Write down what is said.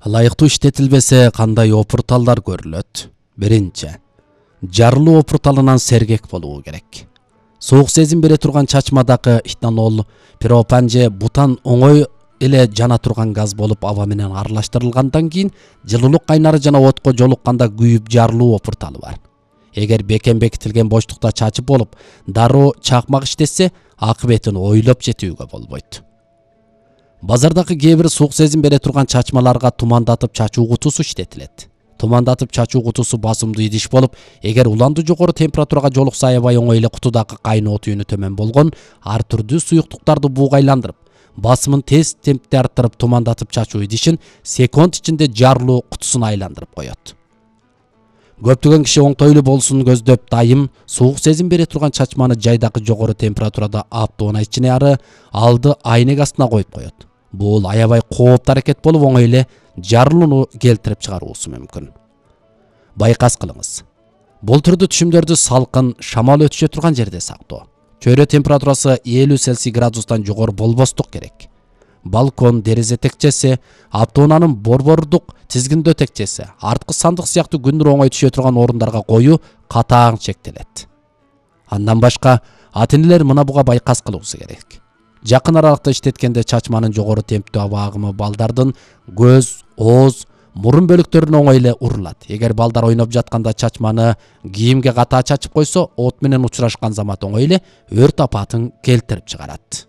Ылайыктуу иштетилбесе кандай опурталдар көрүлөт? Биринчи, жарылуу опурталынан сергек болуу керек. Суук сезим бере турган чачмадагы этанол, пропан же бутан оңой эле жана турган газ болуп аба менен аралаштырылгандан кийин жылуулук кайнары жана отко жолукканда күйүп жарылуу опурталы бар. Эгер бекем бекитилген боштукта чачып болуп, дароо чакмак иштесе, акыбетин ойлоп жетүүгө болбойт. Базардагы кээ бир суук сезим бере турган чачмаларга тумандатып чачуу кутусу иштетилет. Тумандатып чачуу кутусу басымдуу идиш болуп, эгер уландуу жогору температурага жолукса аябай оңой эле кутудагы кайноо түйүнү төмөн болгон ар түрдүү суюктуктарды бугайландырып, басымын тез темпте арттырып тумандатып чачуу идишин секунд ичинде жарылуу кутусуна айландырып коет. Көптөгөн киши оңтойлуу болсун көздөп дайым суук сезим бере турган чачманы жайдагы жогору температурада аптоона ичине ары алды айнек астына коюп коет. Бул аябай кооптуу аракет болуп оңой эле жарылууну келтирип чыгаруусу мүмкүн. Байкас кылыңыз. Бул түрдүү түшүмдөрдү салкын, шамал өтүшө турган жерде сактоо. Чөйрө температурасы 50 Цельсий градустан жогору болбостук керек. Балкон, дерезе текчеси, аптоонанын борбордук тизгиндөө текчеси, арткы сандык сыяктуу күндүр оңой түшө турган орундарга коюу катаң чектелет. Андан башка ата-энелер мына буга байкас кылуусу керек. Жакын аралыкта иштеткенде чачманын жогору темптүү аба агымы балдардын көз, ооз, мурун бөлүктөрүнө оңой эле урулат. Эгер балдар ойноп жатканда чачманы кийимге катаа чачып койсо, от менен учурашкан замат оңой эле өрт апатын келтирип чыгарат.